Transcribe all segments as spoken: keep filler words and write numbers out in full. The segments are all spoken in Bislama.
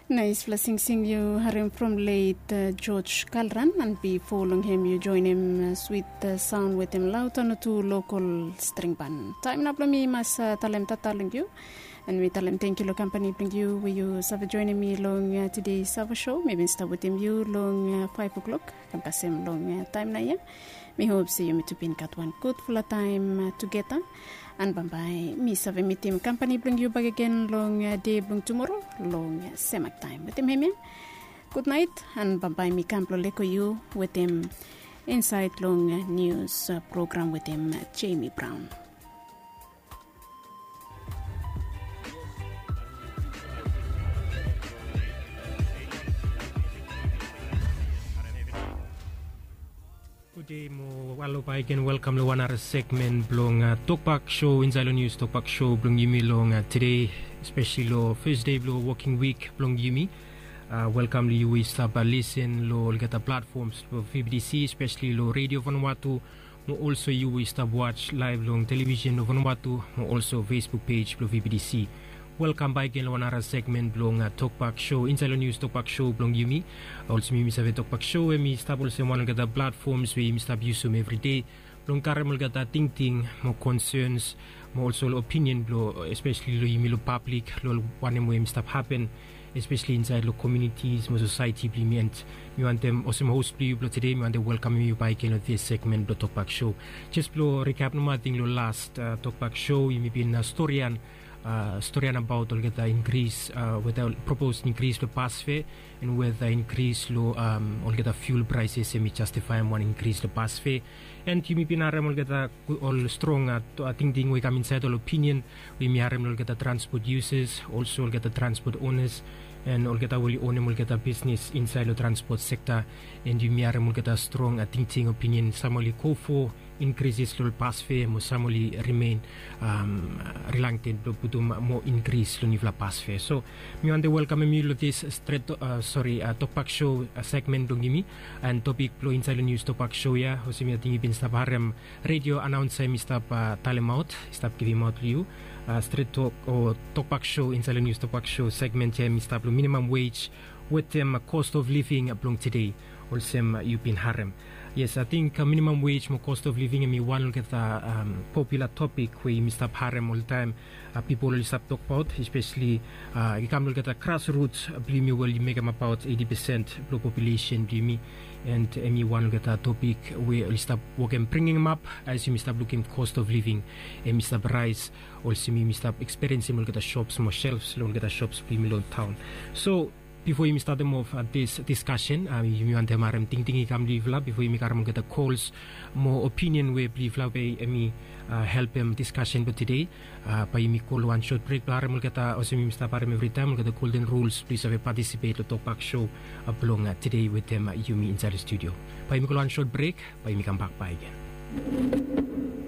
Naispela singsing yu harim from let George Kalran, and bifo long hem yu joinim swit saun wetem lautano tu lokol string ban. Taim nao blong mi mas talem tata long yu, and mi talem tengkiu long kampani blong yu we yu save joinim mi long tide sava sho. Mi bin stap wetem yu long faiv o'klok kam kasem long taim nao ya. Mi hop se yumi tu bin gat wan gudfala taim tugeta. An bambae mi save mitim kampani blong yu bakegen long de blong tumoro long semak taim wetem hemia. Gudnait. An bambae mi kam blong leko yu wetem insaed long nius program wetem Jemi Braon. Gude mo alo bakegen, welkam long wan nara segmen blong tokbak sho insaed long nius tokbak sho blong yumi long tede, espesli long fes de blong woking wik blong yumi. Welkam long yu we i stap lisen long olgeta platfoms blong V B T C, espesli long redio Vanuatu, mo olso yu we i stap was laev long televisen blong Vanuatu, mo olso Facebook pej blong V B T C. Welkam bakegen long wan nara segmen blong tokbak sho insaed long nius tokbak sho blong yumi. Olsem yumi save, tokbak sho hemi stap olsem wan olgeta platfoms we yumi stap yusum evri de blong karem olgeta tingting mo konsens mo olso ol opinion blong, espesli long yumi long pablik, long wanem we hemi stap hapen, espesli insaed long komunitis mo sosaeti blong yumi. And mi wantem, olsem hos blong yu blong tede, mi wantem welkamem yu bakegen long dis segmen blong tokbak sho. Jes blong rikap nomo, ating long las tokbak sho yumi bin storian, storian abaot olgeta inkris, weta propos inkris blong bas fea, and weta inkris long olgeta fiul praeses hemi jastifaem wan inkris long bas fea. And yumi bin harem olgeta ol strong tingting we i kam insaed, ol opinion we yumi harem long olgeta transpot yusas, olso olgeta transpot onas, and olgeta we oli onem olgeta bisnes insaed long transpot sekta. And yumi harem olgeta strong tingting, opinion, sam oli go fo inkrises long ol bas fea, mo sam oli rimen rilangten blong putum moa inkris long niufala bas fea. So mi wantem welkamem yu long dis stret, sori, tokbak sho segmen blong yumi. And topik blong insaed long nius tokbak sho ya, olsem ating yu bin stap harem redio anaonsa hemi stap talemaot, i stap givimaot long yu, stret tok o tokbak sho insaed long nius tokbak sho segmen ya hemi stap long minimam wej wetem cost of living blong tede, olsem yu bin harem. Yes, ating minimam wej mo cost of living hemi wan olgeta popular topik we yumi stap harem oltaem. Pipol oli stap tokbaot, espesli i kam long olgeta grasruts blong yumi we oli mekem abaot eiti pesen blong populesen blong yumi. And hemi wan olgeta topik we oli stap wokem bringimap, as yumi stap lukim cost of living hemi stap raes, olsem yumi stap ekspiriensim long olgeta shops mo shelves long olgeta shops blong yumi long taon. So bifo yumi statem of dis diskasen, yumi wantem harem tingting i kam long yufala bifo yumi karem olgeta kols mo opinion we blong yufala we hemi helpem diskasen blong tede. Bae yumi go long wan sot brek blong harem olgeta, olsem yumi stap harem evritaem, olgeta golden ruls blong yu save patisipet long tokbak sho blong tede wetem yumi insaed long studio. Bae yumi go long wan sot brek, bae yumi kambak bakegen.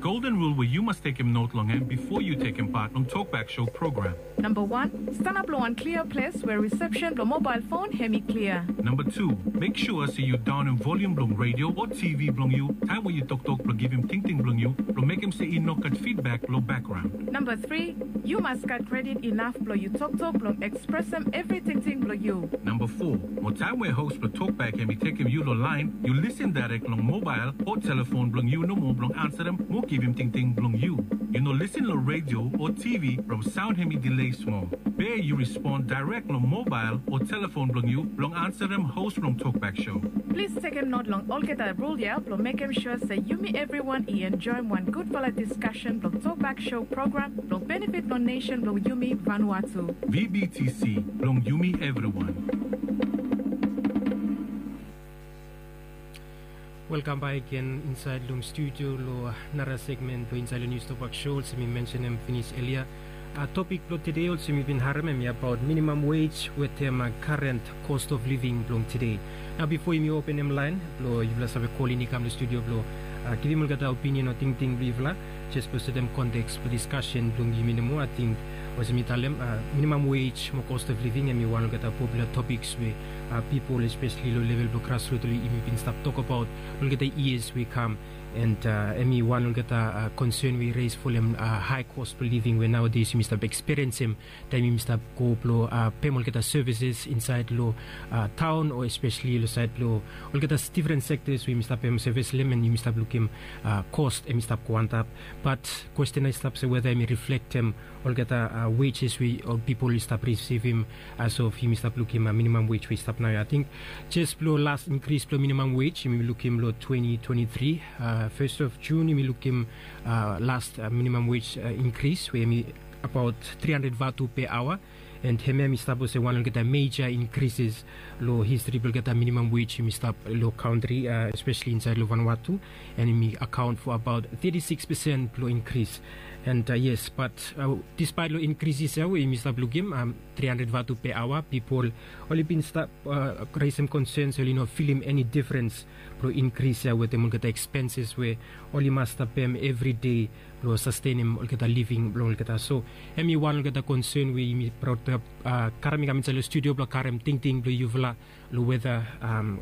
Golden rul we yu mas tekem not long hem bifo yu tekem pat long tokbak sho program. Namba wan, stanap long wan klia ples we risepsen blong mobael fon hemi klia. Namba tu, mek sua se yu daonem volium blong redio o TV blong yu taem we yu toktok blong givim tingting blong yu, blong mekem se i no gat fidbak long bakgraon. Namba tri, yu mas gat kredit inaf blong yu toktok blong ekspresem evri tingting blong yu. Namba fo, mo taem we hos blong tokbak hemi tekem yu long laen, yu lisin daerek long mobael o telefon blong yu nomo blong ansarem mo givim tingting blong yu. Yu no lisin long redio o TV from saon hemi dilei smol. Be yu rispon daerek long mobael o telefon blong yu blong ansarem hos blong tokbak sho. Plis tekem not long olgeta rul ya blong mekem sua se yumi evriwan i enjoem wan gudfala diskasen blong tokbak sho program blong benefit blong nesen blong yumi Vanuatu. VBTC, blong yumi evriwan. Welkam bakegen insaed long studio long nara segmen blong insaed long nius tokbak sho, olsem mi mensenem finis elia. Topik blong tede, olsem yu bin harem, hemi abaot minimam wej wetem karen cost of living blong tede. Nao bifo yumi openem laen blong yufala save kolin i kam long studio blong givim olgeta opinion o tingting blong yufala, Jes blong setem konteks blong diskasen blong yumi nomo, ating olsem mi talem, minimam wage mo cost of living em i wan olgeta popular topiks we pipol espesli long level blong grasrut oli yumi bin stap tokabaot olgeta yias we i kam. And em i wan olgeta konsen we i res folem hae cost blong living we naodes yumi stap eksperiensim taem yumi stap go blong pem olgeta sevises insaed long taon o espesli long saed blong olgeta difren sektas we yumi stap pem sevis long em and yumi stap lukim cost em i stap go antap. Bat kwesten i stap se weda em i riflektem olgeta wages we ol pipol i stap risivim as of yumi stap lukim minimam wage we i stap nao ya. Ating jes blong las inkris blong minimam wage yumi lukim long twenty twenty-three, fes of Jun yumi lukim las minimam wage inkris we em i abaot tri handred vatu pe aoa. And hemia em i stap olsem wan olgeta meja inkrises long histri blong olgeta minimam wage yumi stap long kantri, espesli insaed long Vanuatu. And em i akaon fo abaot teti sikis pesen blong inkris. And yes, bat dispaet long inkrises ya we yumi stap lukim tri handred vatu pe aoa, pipol oli bin stap resim konsens, oli no filim eni difrens blong inkris ya wetem olgeta ekspenses we oli mas stap pem evri dei blong sastenem olgeta living blong olgeta. So em i wan olgeta konsen we yumi praod blong karem i kam insaed long studio blong karem tingting blong yufala long weda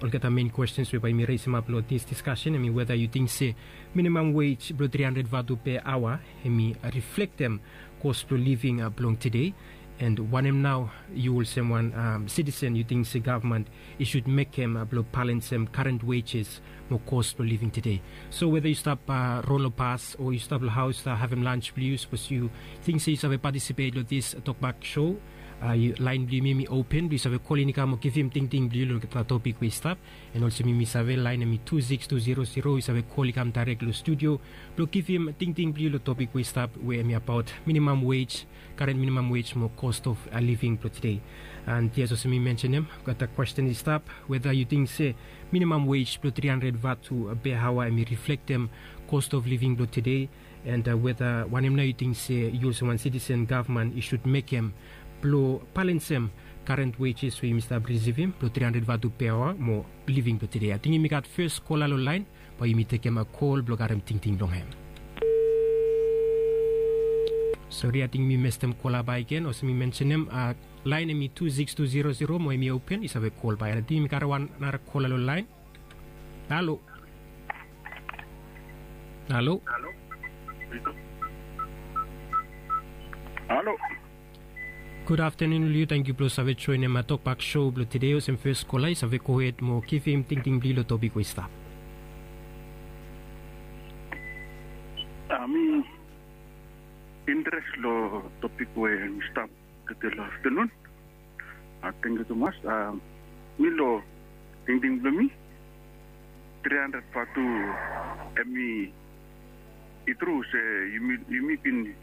olgeta mein kwestens we bae yumi resimap long dis diskasen em i weda yu ting se minimam wage blong tri handred vatu pe aoa em i riflektem kos blong living blong tede. And wanem nao yu olsem wan sitisen yu ting se gavman i sud mekem blong balensem karent wages mo kos blong living tede? So weda yu stap ron long bas o yu stap long haos stap havem lans blong yu, sapos yu ting se yu save patisipet long dis tokbak sho, laen blong yumi em i open blong yu save kolin i kam o givim tingting blong yu long olgeta topik we i stap. And olsem yumi save laen em i tu sikis tu zero zero, yu save kol i kam daerek long studio blong givim tingting blong yu long topik we i stap we em i abaot minimam wage, karent minimam wage mo cost of living blong tede. And yes, olsem mi mensenem, olgeta kwesten i stap weda yu ting se minimam wage blong tri handred vatu pe aoa em i riflektem cost of living blong tede. And weda wanem nao yu ting se yu olsem wan sitisen gavman i sud mekem blong balensem karent wages we yumi stap risivim blong tri handred vatu pe aoa mo living blong tede? Ating yumi gat fes kola long laen, bae yumi tekem kol blong karem tingting blong hem. Sori, ating yumi mestem kola bakegen. Olsem mi mensenem, laen em i tu sikis tu zero zero mo em i open, yu save kol bak. Ating yumi karem wan nara kola long laen. Halo. Halo. Halo. Gud aftenun long yu, tangkiu blong save joenem tokbak sho blong tede. Olsem fes kola, yu save gohed mo givim tingting blong yu long topik we i stap. Mi interes long topik we mi stap tede long aftenun. Tangkiu tumas. Mi long tingting blong mi, tri handred vatu em i tru se yumi bin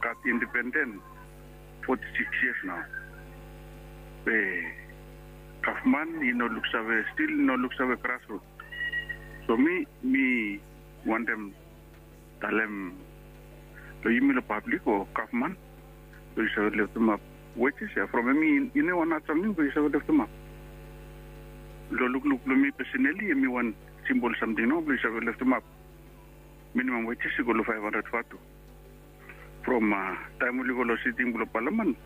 gat independen foti sikis yias nao. Be gavman i no luksave, stil i no luksave grasrut. So mi mi wantem talem long yumi long pablik o gavman blong yu save leftemap wejes ya from em i no wan hat samting blong yu save leftemap. Long lukluk blong mi pesenali em i wan simpol samting nao blong yu save leftemap minimam wejes i go long faef handred vatu. From taem oli go long siting blong palaman,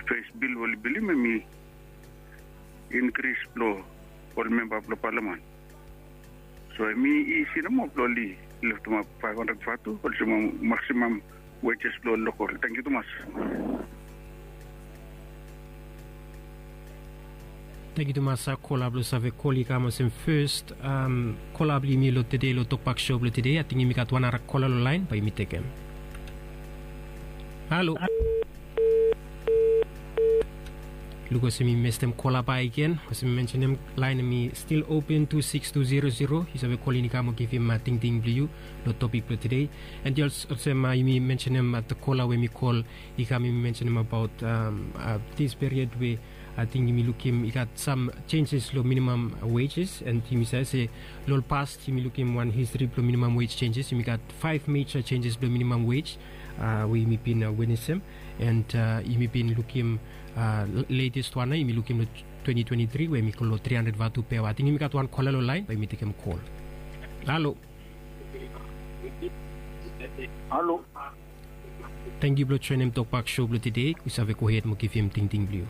fes bil we oli bilim em i inkris blong ol memba blong palaman. So em i isi nomo blong oli leftemap faef handred vatu olsem maksimam wejes blong ol lokol. Tangkiu tumas. Tangkiu tumas kola blong save kol i kam olsem fes kola blong yumi long tede long tokbak sho blong tede. Ating yumi gat wan nara kola long laen, bae yumi tekem. Halo. Luk olsem mi mestem kola bakegen. Olsem mi mensenem, laen em i stil open, tu sikis tu zero zero. Yu save kolin i kam o givim tingting blong yu long topik blong tede. And yes, olsem yumi mensenem, kola we mi kol i kam, yumi mensenem abaot dis period we ating yumi lukim i gat sam senjes long minimam wejes. And yumi save se long ol pas yumi lukim wan histri blong minimam wej senjes. Yumi gat faef meja senjes blong minimam wej we yumi bin witnesem. And yumi bin lukim letest wan nao yumi lukim long twenty twenty-three we yumi go long tri handred vatu pe aoa. Ating yumi gat wan kola long laen, bae yumi tekem kol. Halo. Halo. Tangkiu blong joenem tokbak sho blong tede. Yu save gohed mo givim tingting blong yu.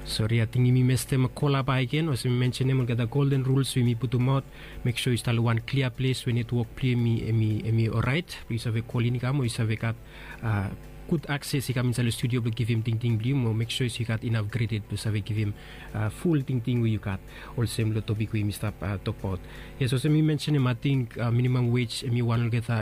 Sori, ating yumi mestem kola bakegen olsem mi mensenem olgeta golden rules we yumi putumaot. Mek sua yu stap long wan klia ples we netwok blong yu em i em i orait blong yu save kolin i kam o yu save gat gud akses i kam insait long studio blong givim tingting blong yu mo mek sua yu gat inaf kredit blong save givim ful tingting we yu gat. Olsem long topik we yumi stap tokbaot. Yes, olsem mi mensenem ating minimam wej em i wan olgeta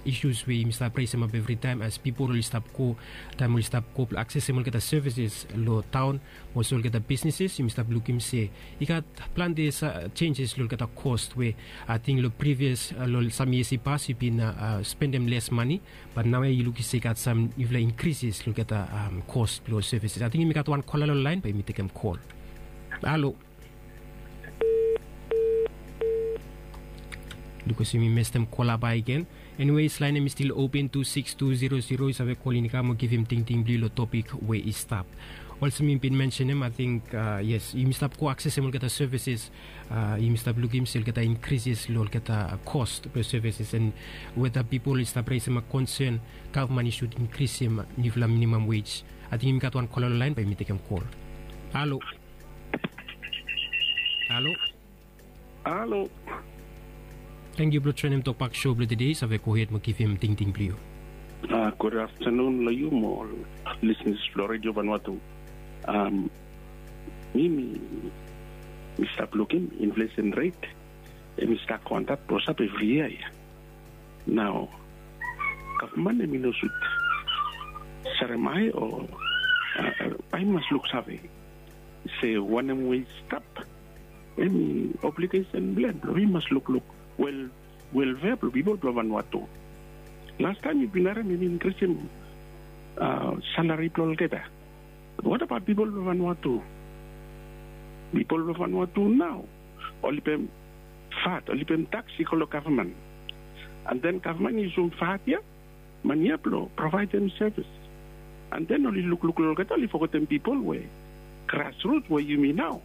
isus we yumi stap resemap evritaem as pipol oli stap go taem oli stap go blong aksesem olgeta sevises long taon mo olsem olgeta bisneses yumi stap lukim se i gat plante jenjes long olgeta kos we ating long privias long sam yias i pas yu bin spendem les mane. Bat naoia yu lukim se i gat sam niufala inkrisis long olgeta kos blong sevises ating yumi gat wan kola long laen bae yumi tekem kol. Halo. Lukim olsem yumi mestem kola bakegen. Eniwes laen em i stil open tu siks tu zero zero yu save kolin i kam o givim tingting blong yu long topik we i stap. Olsem yumi bin mensenem ating yes yumi stap go aksesem olgeta sevises. Yumi stap lukim se olgeta inkrisis long olgeta kos blong sevises en weta pipol i stap resemap konsen gavman i sud inkrisim niufala minimam wej. Ating yumi gat wan kola long laen bae yumi tekem kol. Halo. Halo. Halo. Tangkiu blong joenem tokbak sho blong tede yu save gohed mo givim tingting blong yu. Gud aftanun long yu mo ol lisnis blong redio vanua tu. Mi mi mi stap lukim inflesen ret em i stap go antap blosap evri yia ya. Nao gavman em i no sud sarem ai o ai mas luksave se wanem we i stap em i obligesen blong em blong i mas lukluk wel welfea blong pipol blong vanua tu. Lastaem yu bin harem em i inkrisim salari blong olgeta. Wat abaot pipol blong vanua tu? Pipol blong vanua tu nao oli pem vat oli pem taks i go long gavman. An den gavman i yusum vat ya man ya blong provaedem sevis. An den oli lukluk long olgeta oli fogetem pipol we grasrut we yumi nao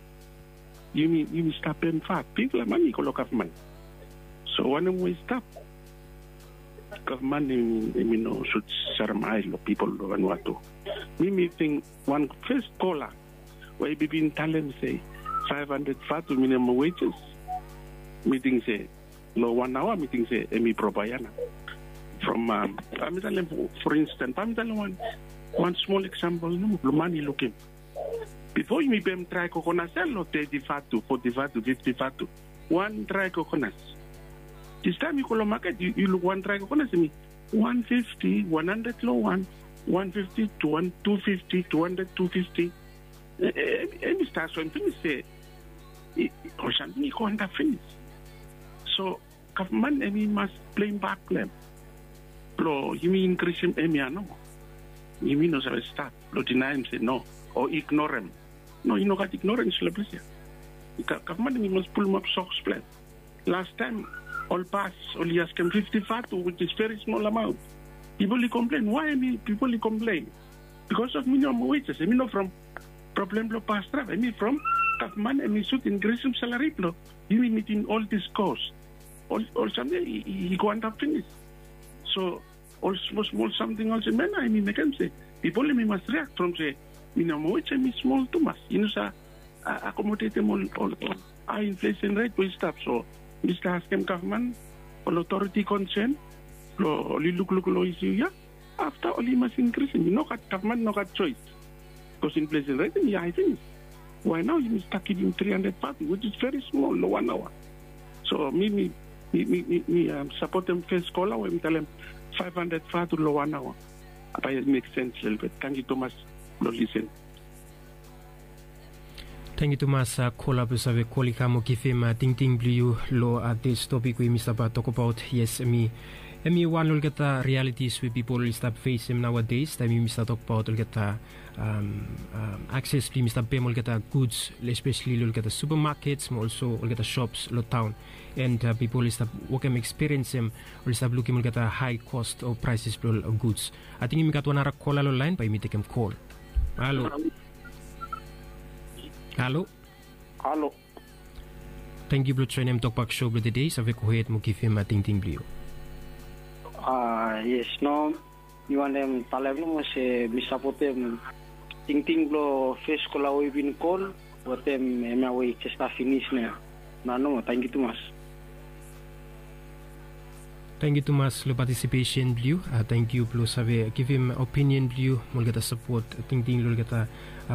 yumi yumi stap pem vat bigfala mane i go long gavman. So wanem we i stap gavman em i no sud sarem ai long pipol long vanua tu. Mi mi ting wan fes kola we i bin talem se faef handred vatu minimam wejes. Mi ting se long wan aoa mi ting se em i probaia nao. From bae mi talem for instance bae mi talem wan wan smol eksampol nomo blong man i lukim. Bifo yumi pem drae kokonas ya long teti vatu foti vatu fifti vatu wan drae kokonas. Distaem yu go long maket yu luk wan drae kokonas em i wan fifti wan handred long wan wan fifti tu wan tu fifti tu handred tu fifti. Em i stap soem pinis se ol samting i go antap pinis. So gavman em i mas plem bak blong em blong yumi inkrisim em ya nomo. Yumi no save stap blong dinaem se no o ignorem. No i no gat ignorens long ples ya. Gavman em i mas pulumap soks blong em. Lastaem ol bas oli askem fifti vatu wis is veri smol amaon. Pipol i komplen wae em i pipol i komplen? Bikos of minimam wejes em i no from problem blong bas draev em i from gavman em i sud inkrisim salari blong yumi mitim ol dis kos. Ol samting i go antap pinis. So ol smol smol samting olsem ya nao em i mekem se pipol em i mas riak from se minimam wej em i smol tumas i no save akomodetem ol ol ol hae inflesen ret we i stap. So mi stap askem gavman ol otoriti konsen blong oli lukluk long isu ya. Afta oli mas inkrisim i no gat gavman i no gat soes. Bikos inflesen ret em i hae pinis. Wae nao yumi stap givim tri handred vatu wis is veri smol long wan aoa. So mi mi mi mi mi sapotem fes kola we mi talem faef handred vatu long wan aoa. Bae i mek sens lelebet. Tangkiu tumas blong lisen. Tangkiu tumas kola blong save kol i kam o givim tingting blong yu long dis topik we yumi stap tokbaot. Yes em i em i wan long olgeta rialitis we pipol oli stap fesem naoades taem yumi stap tokbaot olgeta akses blong yumi stap pem olgeta guds espeseli long olgeta supamakets mo olso olgeta sops long taon. And pipol oli stap wokem ekspiriensem oli stap lukim olgeta hae kost o praeses blong ol guds. Ating yumi gat wan ara kola long laen bae yumi tekem kol. Halo. Halo. Halo. Tangkiu blong joenem Tokbak Show blong tede. Save gohed mo givim tingting blong yu. A yes, no, mi wantem talem nomo se mi sapotem tingting blong fes kola we i bin kol, wetem hemia we i jes stap finis nao. Nao nomo, tangkiu tumas. Tangkiu tumas long patisipesen blong yu. Tangkiu blong save givim opinion blong yu mo olgeta sapot tingting long olgeta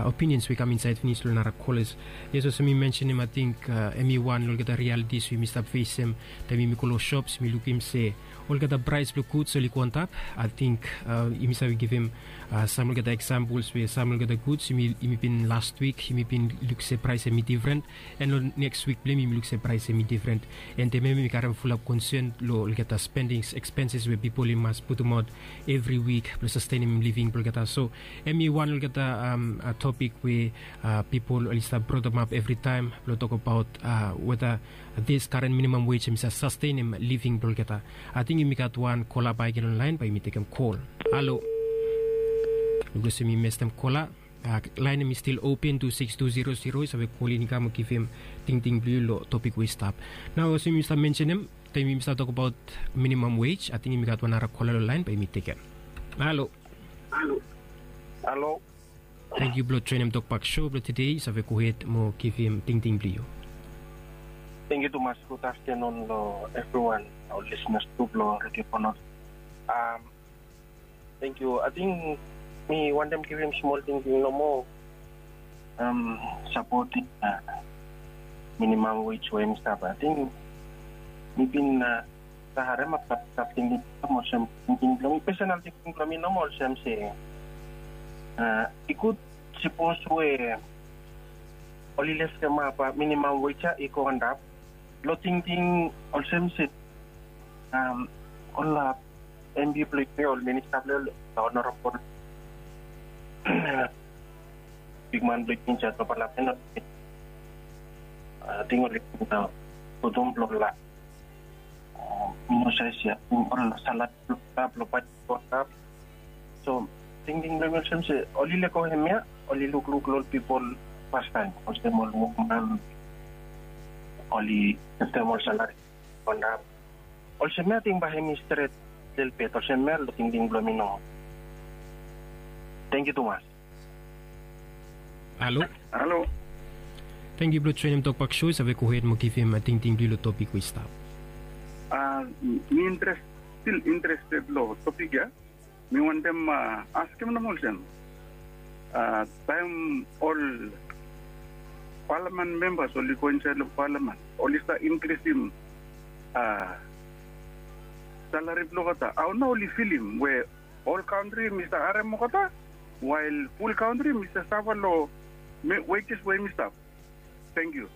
opinions we i kam insaed finis long nara kolas. Yes, olsem mi mensenem, ating hemi wan long olgeta rialitis we yumi stap fesem taem yumi go long shops, yumi lukim se olgeta praes blong guds oli go antap. Ating yumi save givim sam olgeta eksampols we sam olgeta guds yumi bin last wik yumi bin luk se praes hemi difren, and long neks wik blong hem yumi luk se praes hemi difren. And hemia mi karem fulap konsen long olgeta spendings, ekspenses we pipol i mas putumaot evri wik blong sastenem living blong olgeta. So hemi wan long olgeta topik we pipol oli stap brotemap evritaem blong tokbaot weta dis karen minimam wej hemi save sastenem living blong olgeta. Ating yumi gat wan kola bakegen long laen, bae yumi tekem kol. Halo. Luk olsem mi mestem kola. Laen hemi stil open tu sikis tu zero zero, yu save kol in i kam mo givim tingting blong yu long topik we i stap. Nao olsem mi stap mensenem taem yumi stap tokbaot minimam wej, ating yumi gat wan nara kola long laen, bae yumi tekem. Halo. Halo. Tangkiu blong joenem Tokbak Show blong tede. Yu save gohed mo givim tingting blong yu. Tangkiu tumas. Gud aftanun long evriwan, ol lisenas tu blong Redio Fanot. Tangkiu. Ating mi wantem givim smol tingting nomo. Sapotem minimam wej we hemi stap. Ating mi bin save haremap, stap tingting blong mi, olsem tingting blong mi, pesenal tingting blong mi nomo olsem se i gud sipos we oli leftemap minimam wej ya i go antap. Long tingting olsem se ol MP blong yumi, ol minista blong yumi, ol honorabol bigman blong yumi, jaj blong Palamen, ating oli putum blong la mi no save se ol salari blong baet antap. So tingting blong mi olsem se oli lego hemia, oli lukluk long ol pipol fastaem, olsem ol wokman, oli givim ol salari antap. Olsem ya ating bae hemi stret lelebet. Olsem ya long tingting blong mi nomo. Tangkiu tumas. Halo. Halo. Tangkiu blong joenem Tokbak Show. Yu save gohed mo givim tingting blong yu long topik we i stap. Mi interes, stil interested long topik ya. Mi wantem askem nomo olsem, taem ol palamen membas oli go insaed long palamen, oli stap inkrisim salari blong olgeta, hao nao oli filim we ol kantri hemi stap harem olgeta, wael ful kantri hemi stap safa long wejes we hemi stap. Tangkiu.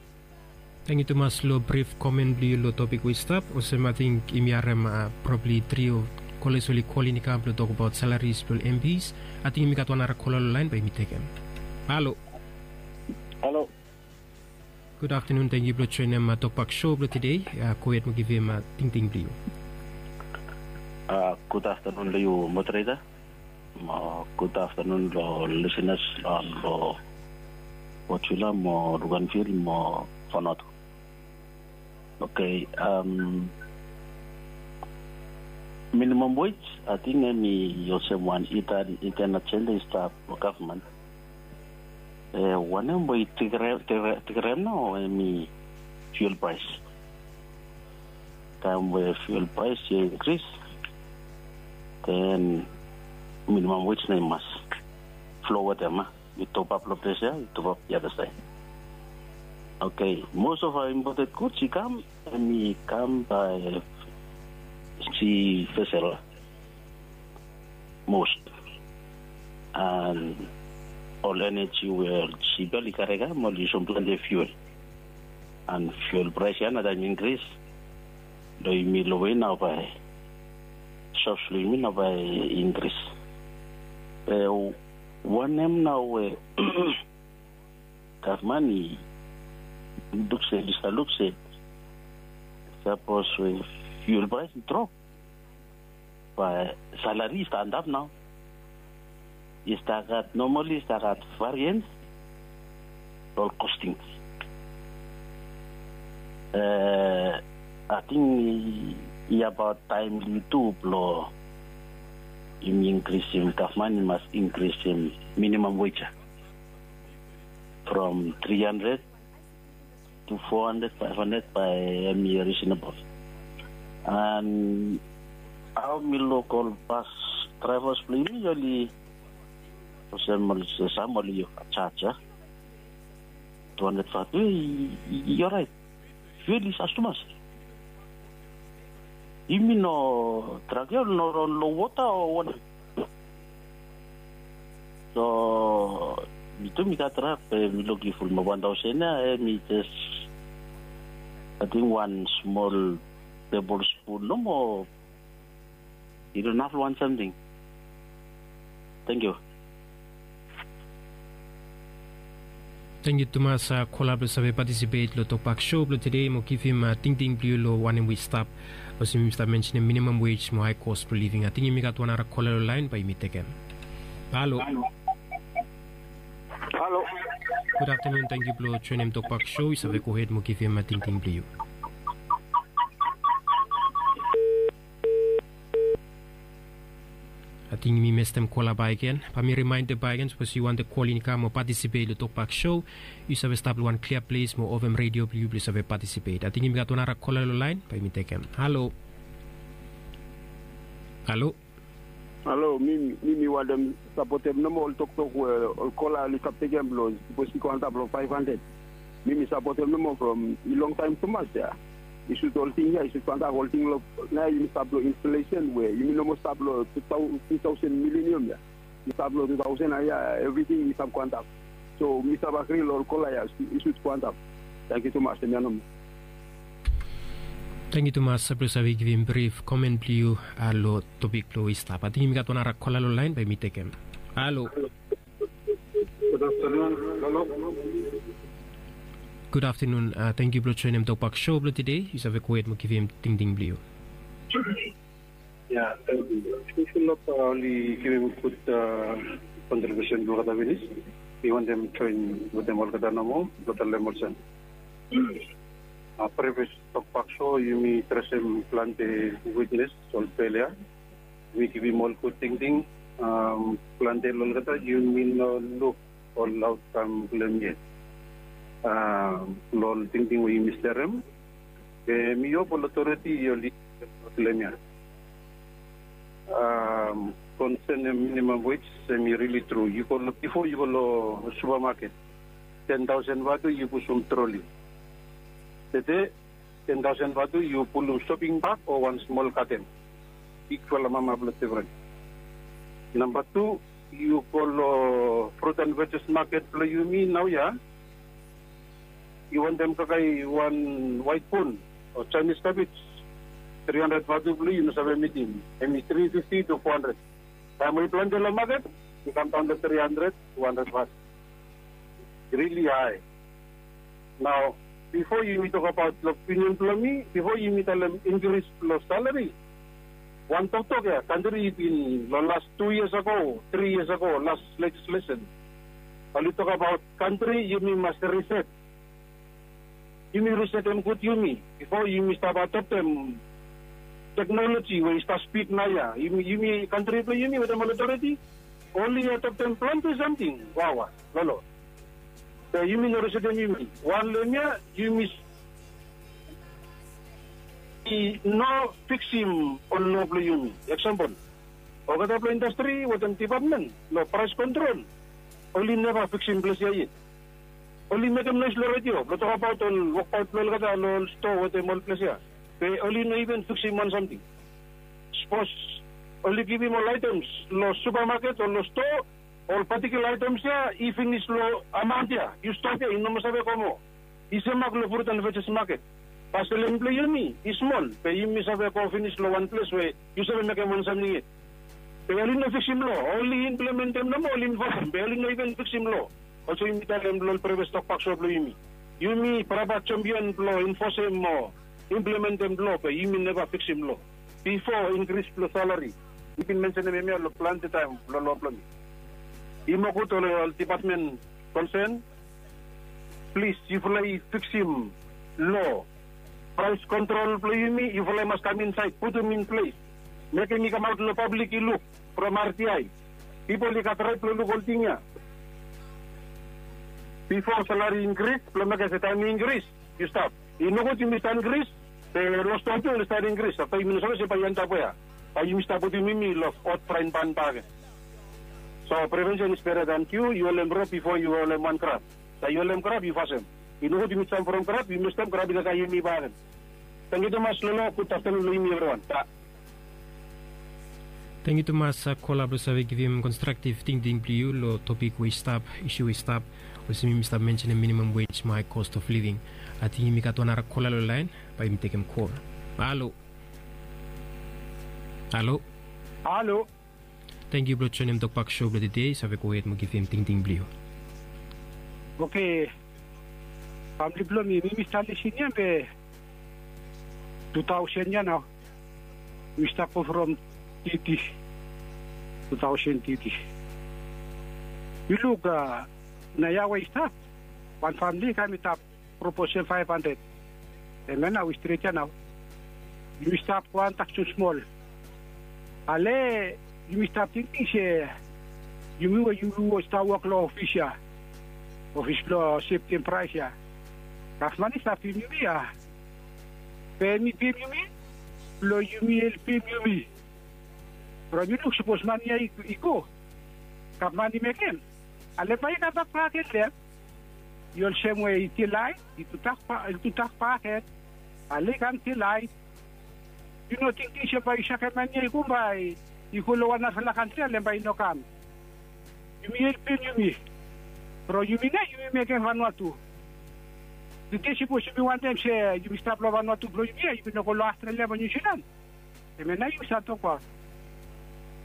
Tangkiu tumas long brif komen blong yu long topik we i stap. Olsem ating yumi harem probabli tri o kola oli kol in i kam blong tokbaot salaris blong ol MPs. Ating yumi gat wan nara kola long laen, bae yumi tekem. Halo. Halo. Gud aftanun, tangkiu blong joenem Tokbak Show blong tede. Gohed mo givim tingting blong yu. Gud aftanun long yu, moderator. Mo gud aftanun long lisenas long Botula mo Luganville mo Fanot. Oke, minimam wej ating hemi olsem wan hidden ajenda i stap long gavman. Wanem we i tekerem nao hemi fuel praes. Taem we fuel praes i inkris, den minimam wej nao i mas flo wetem, a, i topap long ples ya, i topap the other side. Oke, most of our imported goods i kam, hemi kam bae sea vessel most. And ol eneji we ol sip ya oli kare kam oli yusum plante fuel. And fuel praes ya nao taem i inkris, long yumi long we nao bae shops blong yumi nao bae i inkris. Be wanem nao we gavman i luk se, oli stap luk se sapos we fuel praes i drop, bae salari i stap antap nao. I stap gat, nomali i stap gat varians. ol kosting. Ating i abaot taem blong yu tu blong yumi inkrisim, gavman i mas inkrisim minimam wej ya from tri handred tu fo handred, faef handred bae hem i risinabol. An hao mi luk ol bas draevas blong yumi oli olsem ol sam oli jaj ya tu handred fatu ya i oraet. Fuel i sas tumas. Yumi no trak ya oli no ron long wota o wanem? So mi tu mi gat trak be mi luk i fulap wan taosen ya, em i jes ating wan smol tebol spun nomo. I no inaf long wan samting. Tangkiu. Tangkiu tumas kola blong save patisipet long Tokpak Show blong tede mo givim tingting blong yu long wanem we i stap. Olsem yumi stap mensenim minimam wej mo hae kos blong living. Ating yumi gat wan nara kola long laen bae yumi tekem. Halo. Halo. Gud aftanun, tangkiu blong joenem Tokpak Show. Yu save gohed mo givim tingting blong yu. Ating mi mestem kola bakegen. Bae mi rimaendem bakegen sapos yu wantem kol in i kam o patisipet long Tokpak Show, yu save stap long wan klia ples mo ovem redio blong yu blong yu save patisipet. Ating yumi gat wan nara kola long laen bae yumi tekem. Halo. Halo. Halo, mi mi wantem sapotem nomo ol toktok we ol kola oli stap tekem blong sapos i go antap long faef handred. Mi mi sapotem nomo from i longtaem tumas ya. I sud ol ting ya i sud go antap ol ting long nao yumi stap long inflesen we yumi no moa stap long tu taosen milenium ya. I stap long tu taosen ya evriting i stap go antap. So mi stap agri long ol kola ya i sud go antap. Tangkiu tumas, em ya nomo. Tangkiu tumas blong save givim brif komen blong yu long topik blong we i stap. Ating yumi gat wan nara kola long laen bae mi tekem. Halo. Gud aftanun. Halo. Gud aftanun. Tangkiu blong joenem Tokpak Show blong tede. Yu save gohed mo givim tingting blong yu. Ya, tangkiu. Fulap oli givim gud kontribiusen blong olgeta finis. Mi wantem joen wetem olgeta nomo blong talem olsem, previous Tokpak Show yumi adresem plante witnes ol pelia. Yumi givim ol gud tingting. Plante long olgeta yumi no luk ol aotkam blong hem yet. Long ol tingting we yumi sterem, be mi hop ol otoriti oli blong hem ya. Konsen minimam wej, hem i rili tru. Yu go long, bifo yu go long supamaket, ten taosen vatu yu pusum troli. Tede ten taosen vatu yu pulum shoping bag o wan smol katen. Bigfala mama blong difren. Namba tu, yu go long frut an vejes maket blong yumi naoia. Yu wantem kakae wan waet bon o Chinese cabbage, tri handred vatu blong yu no save mitim. Hem i tri fifti tu fo handred. Taem we i plante long maket, i kamdaon long tri handred, tu handred vatu. Rili hae. Nao, bifo yumi tokabaot long opinion blong mi, bifo yumi talem inkris blong salari, wan toktok ya kantri i bin long las tu yias ago, tri yias ago, las lejislesen, oli tokabaot kantri yumi mas riset. Yumi risetem gud yumi bifo yumi stap adoptem teknoloji we i stap spid naoia. Yumi kantri blong yumi wetem ol otoriti oli adoptem plante samting wawa. Lolo. Be yumi no risetem yumi. Wan long hemia, yumi i no fiksim ol loa blong yumi. Eksampol, olgeta blong indastri wetem depatmen long praes kontrol, oli neva fiksim ples ya yet. Oli mekem noes long redio blong tokabaot ol wokbaot blong olgeta long ol stoa wetem ol ples ya. Be oli no iven fiksim wan samting. Sapos oli givim ol aetems long supamaket o long stoa, ol patikula aetems ya i finis long amaon ya, yu stap ya, yu no moa save go moa. I semak long frut an vejes maket. Bae selem blong yumi i smol, be yumi save go finis long wan ples we yu save mekem wan samting yet. Be oli no fiksim loa, oli implementem nomo, oli infosem, be oli no iven fiksim loa. Olsem yumi talem long ol previous tokbak so blong yumi, yumi braba jampion blong infosem mo implementem loa, be yumi neva fiksim loa. Bifo inkris blong salari, mi bin mensenem hemia long plante taem long loa blong mi. I moa gud ol depatmen konsen Plis yufala i fiksim lo, praes kontrol blong yumi yufala i mas kam insaed putum in ples, mekem i kamaot long pablik i luk from artiai. Pipol i gat rait blong luk olting ya. Bifo salari inkris blong mekem se taem i inkris yu stap. I nogud yumi stap inkris, be long ston tu oli stap inkris afta yumi no save se bae i antap we ya. Bae yumi stap putum yumi long ot fraen ban bakegen. So prevensen is beta dan kiu. Yu holem rop bifo yu holem wan krap. Sa yu holem krap yu fasem. I nogud yumi jam from krap yu mestem krap i laik haem yumi bakegen. Tangkiu tumas lolo. Gud aftanun long yumi evriwan. Tangkiu tumas kola blong save givim konstraktiv tingting blong yu long topik we i stap, isu we i stap, olsem yumi stap mensenem minimam wej mo hae kos of living. Ating yumi gat wan nara kola long laen. Bae yumi tekem kol. Halo. Halo. Halo. Tangkiu blong joenem tokbak sou blong tede. Save gohed mo givim tingting blong yu. Oke. Famili blong mi mi mi stap lisin ya be tu taosen ya nao. Mi stap go from titi. Tu taosen titi. Yu luk a, na ya we i stap wan famili kam i tap proposal faef handred. Hemia nao i stret ya nao. Yumi stap go antap smosmol. Ale yumi stap tingting se yumi we yumi we stap wok long ofis ya, ofis blong septem praes ya, gavman i stap pem yumi ya. Be hem i pem yumi blong yumi helpem yumi. From yu luk sapos mani ya i go, gavman i mekem, ale bae i kambak bakegen long hem. I olsem we i tilaet, i tutak baket, ale i kam tilaet. Yu no tingting se bae yu sakem mani ya i go bae i go long wan narafala kantri ale bae i no kam. Yumi helpem yumi. From yumi nao yumi mekem Vanuatu. Tede sapos yumi wantem se yumi stap long Vanuatu blong yumi ya, yumi no go long Australia mo Niu Silan. Hemia nao yumi save tokbaot.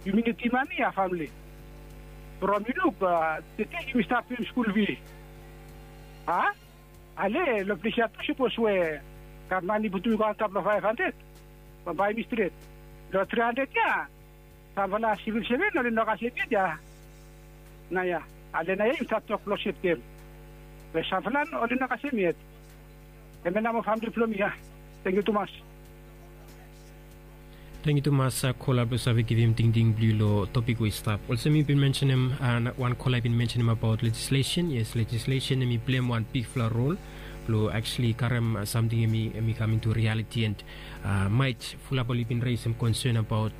Yumi nidim mani ya famili. From yu luk a, tede yumi stap pem skul fi. A, ale long ples ya tu sapos we gavman i putum i go antap long faef handred, bambae yumi stret. Long tri handred ya samfala sivil seven oli no kasem yet ya. Naoia, ale naoia yumi stap tok blong septem we samfala oli no kasem yet. Hemia nao mo famili blong mi ya. Tangkiu tumas. Tangkiu tumas kola blong save givim tingting blong yu long topik we i stap. Olsem mi bin mensenem, wan kola i bin mensenem abaot lejislesen. Yes, lejislesen hem i pleim wan bigfala rol blong aksuali karem samting hem i kam intu rialiti and maet fulap oli bin resem konsen abaot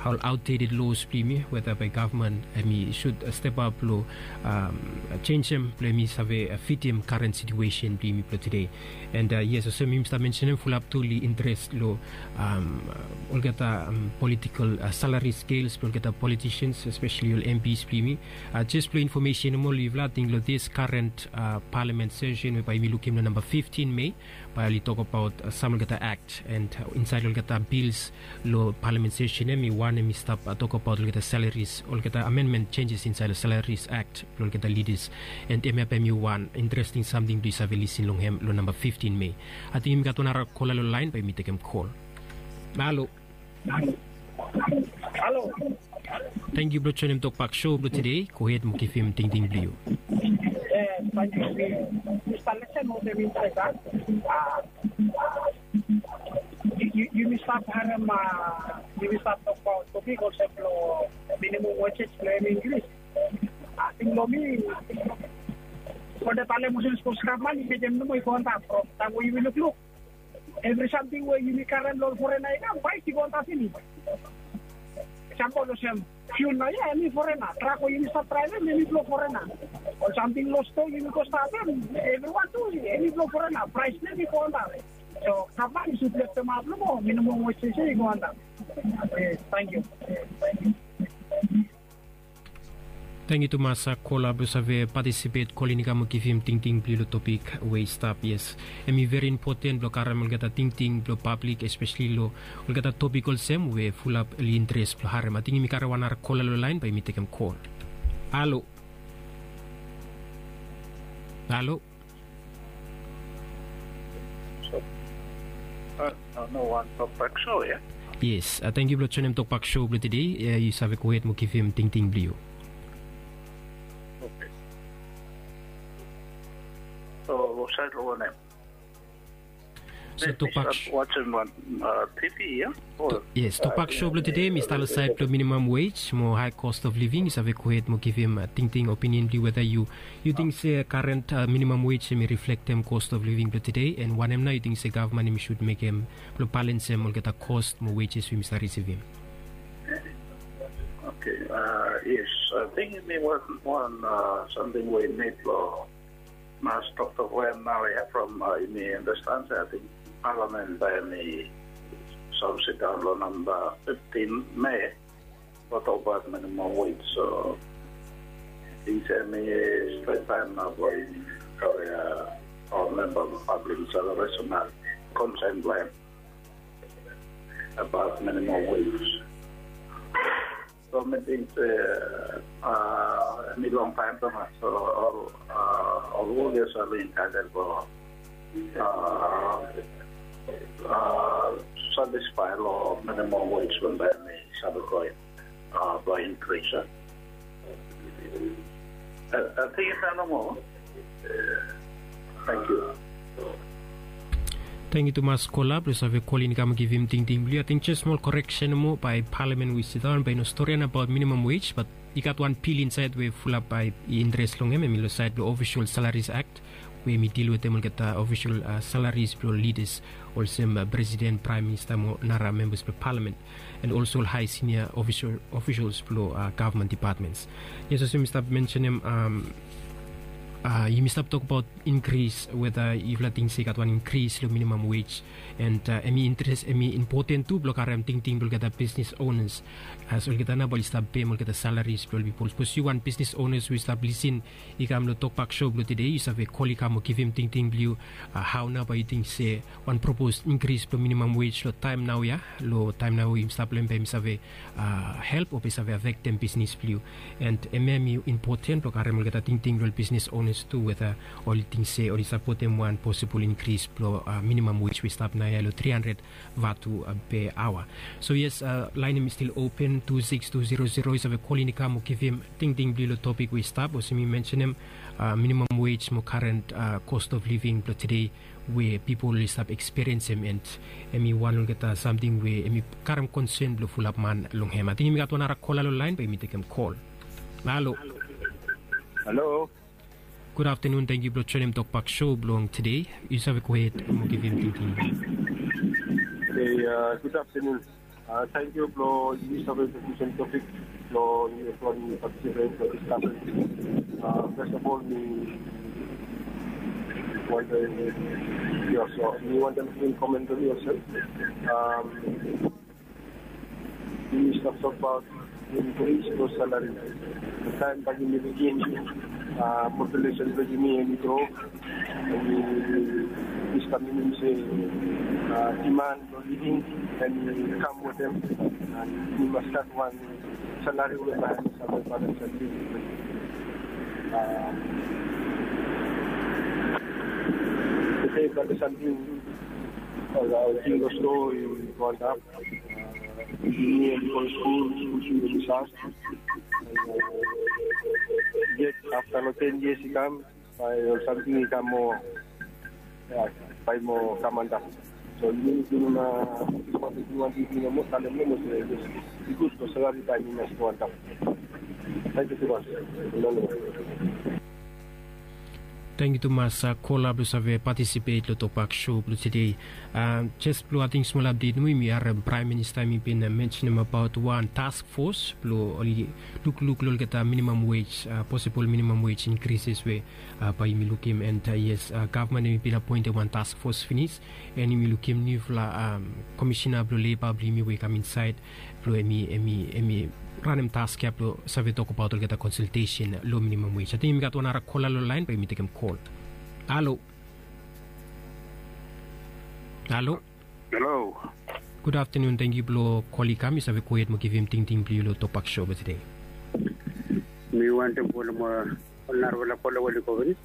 ol aotdeted los blong yumi, weta bae gavman hem i sud step ap long jenjem blong hem i save fitim karen situesen blong yumi blong tede. And yes, olsem yumi stap mensenem, fulap tu oli interes long olgeta politikol salari skels blong olgeta politisians, espeseli ol MPs blong yumi. Jes blong infomesen nomo long yufala, ating long dis karen palamen sesen we bae yumi lukim long namba fiftin Mei, bae oli tokabaot sam olgeta akt and insaed long olgeta bils long palamen sesen hem i wan hem i stap tokabaot olgeta salaris, olgeta amenmen jenjes insaed long salaris akt blong olgeta lidas. And hemia bae hem i wan interesting samting blong yu save lisin long hem long namba fiftin Mei. Ating yumi gat wan nara kola long laen, bae yumi tekem kol. Halo. Halo. Tangkiu blong joenem tokbak sou blong tede. Gohed mo givim tingting blong yu. Tangkiu. Mi stap lesen olsem mi stap, a, yumi stap harem, a, yumi stap tokbaot topik olsem long minimum wages long hem Inglis. Ating long mi, olgeta talem olsem sapos gavman i mekem nomo i go antap from taem we yumi lukluk. Evri samting we yumi karem long ol forena i kam, praes i go antap finis. Eksampol olsem fiul naoia hem i forena, trak we yumi stap draevem hem i blong forena. Ol samting long stoa yumi go stap hem, evriwan tu hem i blong forena, praes blong hem i go antap. So gavman i sud leftemap nomo minimum wages ya i go antap. Tangkiu. Tangkiu tumas kola blong save patisipet, kolin i kam mo givim tingting blong yu long topik we i stap. Yes, hem i veri impoten blong karem olgeta tingting blong pablik, espeseli long olgeta topik olsem we fulap oli interes blong harem. Ating yumi karem wan nara kola long laen, bae yumi tekem kol. Halo. Halo. Yes, tangkiu blong joenem tokbak sou blong tede. Yu save gohed mo givim tingting blong yu. So, long saed long wanem? So, tokbak, wasim wan, uh, T V, ya? Yes, tokbak show blong tede mi stap long saed blong minimum wage mo high cost of living. Yu save go hed mo givim, uh, tingting, opinion blong yu, whether yu, yu ting se current, uh, minimum wage hemi reflektem cost of living blong tede, and wanem nao yu ting se gavman hemi should mekem blong balensem olgeta cost mo wages we yumi stap risivim. Okay, uh, yes, I think hemi wan, wan, uh, samting we i nid blong mas toktok we hem nao ya from, uh, yumi understand se, I think, palamen bae hemi save sidaon long namba fiftin Me blong tokbaot minimum wage. So, I ting se hemi stret taem nao blong yumi kare, uh, ol memba blong pablik i save resem konsen blong hem abaot minimum wage. So, mi ting se, uh, hemi longtaem tumas. So, ol, uh, ol wok ya save entitled blong, uh, uh, satisfy long minimum wage we bae hemi save go, uh, blong increase, uh, I, I think it's normal. Thank you. Tangkiu tumas kola blong yu save kolin i kam givim tingting blong yu. Ating jes smol koreksen nomo, bae palamen we i sidaon bae i no storian abaot minimum wage, bat i gat wan bil insaed we fulap bae i interes long hem, hemi long saed blong Official Salaries Act, we hemi dil wetem olgeta ofisol, uh, salaries blong lidas olsem, uh, presiden, praem minista mo nara membas blong palamen, and also ol hae sinia official, officials blong, uh, gavman departments. Yes, olsem mi stap mensenem, um, uh, yumi stap tokbaot inkris, whether yufala ting se i gat wan inkris long minimum wage, and, uh, hemi interes, hemi impoten tu blong karem tingting blong olgeta bisnis onas, as olgeta nao bae oli stap pem olgeta salaries blong ol pipol. Sapos yu wan bisnis onas we yu stap lisin i kam long tokbak show blong tede, yu save kol i kam mo givim tingting blong yu, uh, hao nao bae yu ting se wan propos inkris blong minimum wage long taem naoia, long taem nao we yumi stap long hem, bae hemi save, uh, help o bae i save afektem bisnis blong yu. And hemia hemi impoten blong karem olgeta tingting blong ol bisnis onas tu, whether oli ting se oli sapotem wan posibol inkris blong, uh, minimum wage we i stap naoia long tri handred vatu, uh, per hour. So yes, uh, laen hemi stil open, tu sikis tu zero zero, yu save kolin i kam mo givim tingting blong yu long topik we i stap, olsem mi mensenem, uh, minimum wage mo current, uh, cost of living blong tede we pipol i stap ekspiriensem, and hemi wan olgeta samting we hemi karem konsen blong fulap man long hem. Ating yumi gat wan nara kola long laen, bae yumi tekem kol. Halo. Halo. Gud aftenun, tangkiu blong joenem tokbak show blong tede. Yu save gohed mo givim tingting. Okei, uh, gud aftenun. Uh, tangkiu blong yumi save introdusim topik blong yumi partisipet long diskasen. Uh, first of all, mi wantem, mi wantem givim komen blong mi olsem. Um, yumi stap tokbaot inkris blong salari. Taem bae yumi lukim, uh, populesen blong yumi hemi gro, hemi, diskasen blong yumi se, uh, diman blong living hemi kam wetem, uh, yumi mas gat wan salari we bae hemi save balens evri. Uh, tede bae samting, uh, ol ting long stoa i go antap. Uh, yumi hemi go long skul, skul fis hemi save. Uh, yet afta long ten yias i kam, bae ol samting i kam moa, ya, bae i moa kam antap. So yumi, yumi, uh, yumi wantem talem nomo se, yes, i gud long salari taem i mas go antap. Tangkiu tumas. Long long. Tangkiu tumas, uh, kola blong save patisipet long tokbak show blong tede. Uh, jes blong ating smol apdet nomo, yumi harem Praem Minista hemi bin, uh, mensenem abaot wan task force blong oli lukluk long olgeta minimum wage, uh, posibol minimum wage inkrises we, uh, bae yumi lukim, and, uh, yes, uh, gavman hemi bin apoentem wan task force finis, and yumi lukim niufala, um, komisena blong leba blong yumi we i kam insaed blong hemi, hemi, hemi ranem task ya blong save tokbaot olgeta konsaltesen long minimum wage. Ating yumi gat wan nara kola long laen, bae yumi tekem kol. Halo. Halo. Halo. Gud aftenun, tangkiu blong kol i kam, yu save gohed mo givim tingting blong yu long tokbak show blong tede. Mi wantem kol mo ol narafala kola we oli go finis.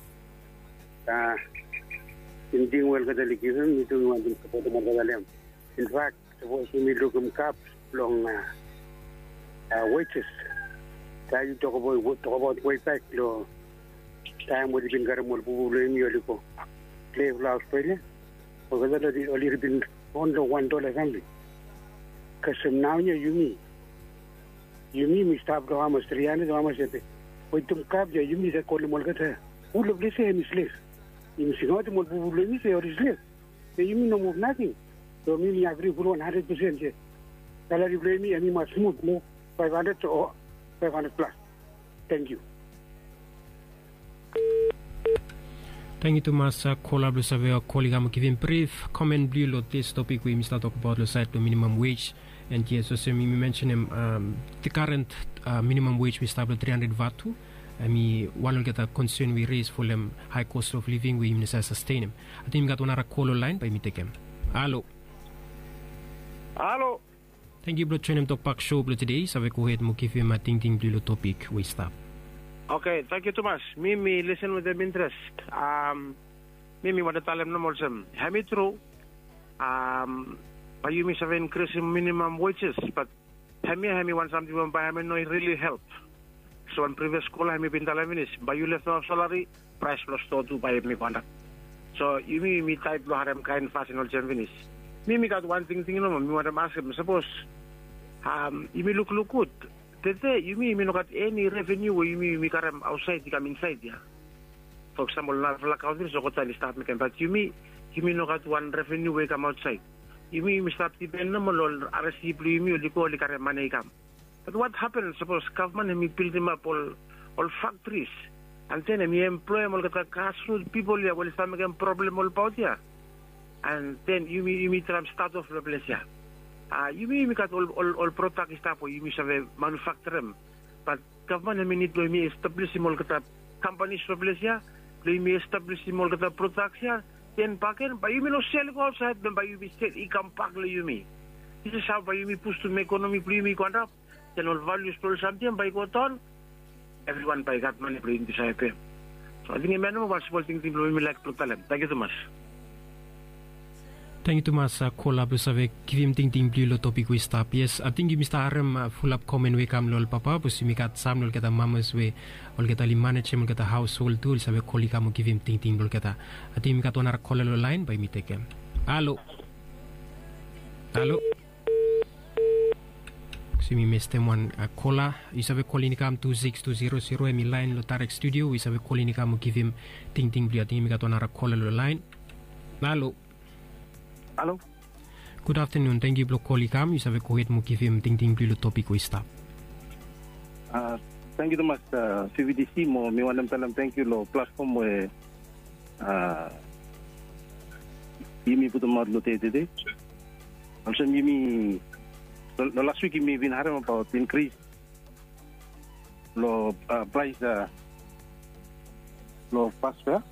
Uh, tingting we olgeta oli givim, mi tu mi wantem sapotem olgeta long hem. In fact, sapos yumi lukim gap long, uh, uh, wages, taem yu tokbaot, tokbaot wei bak long Taem oli bin karem ol bubu blong yumi oli go klea long Australia, olgeta oli bin ron long wan dola samting. Kasem naoia yumi, yumi mi stap long hamas, tri handred o hamas ede. Wetem kap ya yumi save kolem olgeta. Ol ples ya hemi slef. Yumi singaotem ol bubu blong yumi se oli slef. Be yumi no muv nating. So mi mi agri ful wan handred pesen se salari blong yumi hemi mas muv long faef handred o faef handred plas. Tangkiu. Tangkiu tumas kola blong save kol i kam givim brif komen blong yu long dis topik we yumi stap tokbaot long saed blong minimam wej. And yes, olsem yumi mensenem, the current minimam wej we i stap long tri handred vatu, hemi wan olgeta konsen we i res folem hae kos of living we yumi no save sastenem. Ating yumi gat wan nara kol long laen, bae yumi tekem. Halo. Halo. Tangkiu blong joenem tokbak sou blong tede. Save gohed mo givim tingting blong yu long topik we i stap. Oke, tangkiu tumas. Mi mi lisen wetem intres. Mi mi wantem talem nomo olsem, hemi tru, bae yumi save inkrisim minimam wejes, bat hemia hemi wan samting we bae hemi no rili help. So wan privias kola hemi bin talem finis, bae yu leftoef salari, praes blong stoa tu bae hemi go antap. So yumi yumi taet blong harem kaen fasin olsem finis. Mi mi gat wan tingting nomo mi wantem askem, sapos yumi lukluk gud, tede yumi yumi no gat eni reveniu we yumi yumi karem aotsaed i kam insaed ya. For example, narafala kantri olgeta oli stap mekem, bat yumi yumi no gat wan reveniu we i kam aotsaed. Yumi yumi stap dipen nomo long ol aresi blong yumi oli go oli karem mane i kam. Bat wat hapen sapos gavman hemi bildimap ol ol faktris, and then hemi emploem olgeta grasrut pipol ya we oli stap mekem problem olbaot ya. And then yumi yumi traem stat of long ples ya. Yumi yumi gat ol ol ol prodak i stap we yumi save manufakturem. Bat gavman hemi nid blong yumi establisim olgeta kampanis long ples ya, blong yumi establisim olgeta prodaks ya. Then baken bae yumi no sel i go aotsaed, then bae yumi sel i kambak long yumi. This is hao bae yumi pustum ekonomi blong yumi i go antap. Then ol valius blong ol samting bae i go daon. Evriwan bae i gat mane blong yumi save pem. So ating hemia nomo wan smol tingting blong mi mi laek blong talem. Tangkiu tumas. Tangkiu tumas kola blong save givim tingting blong yu long topik we i stap. Yes, ating yumi stap harem fulap komen we i kam long ol papa, bikos yumi gat sam long olgeta mamas we olgeta oli manejem olgeta haoshol tu, oli save kol i kam mo givim tingting blong olgeta. Ating yumi gat wan nara kola long laen, bae yumi tekem. Halo. Halo. Bikos yumi mestem wan kola. Yu save kolin i kam tu sikis tu zero zero, hemi laen long daerek studio we yu save kolin i kam mo givim tingting blong yu. Ating yumi gat wan nara kola long laen. Halo. Halo. Gud aftanun, tangkiu blong kol i kam. Yu save gohed mo givim tingting blong yu long topik we i stap. Tangkiu tumas, V V D C, mo mi wantem talem tangkiu long platfom we yumi putumaot long dei tede. Olsem yumi long las wik yumi bin harem abaot inkris long praes long bas fea.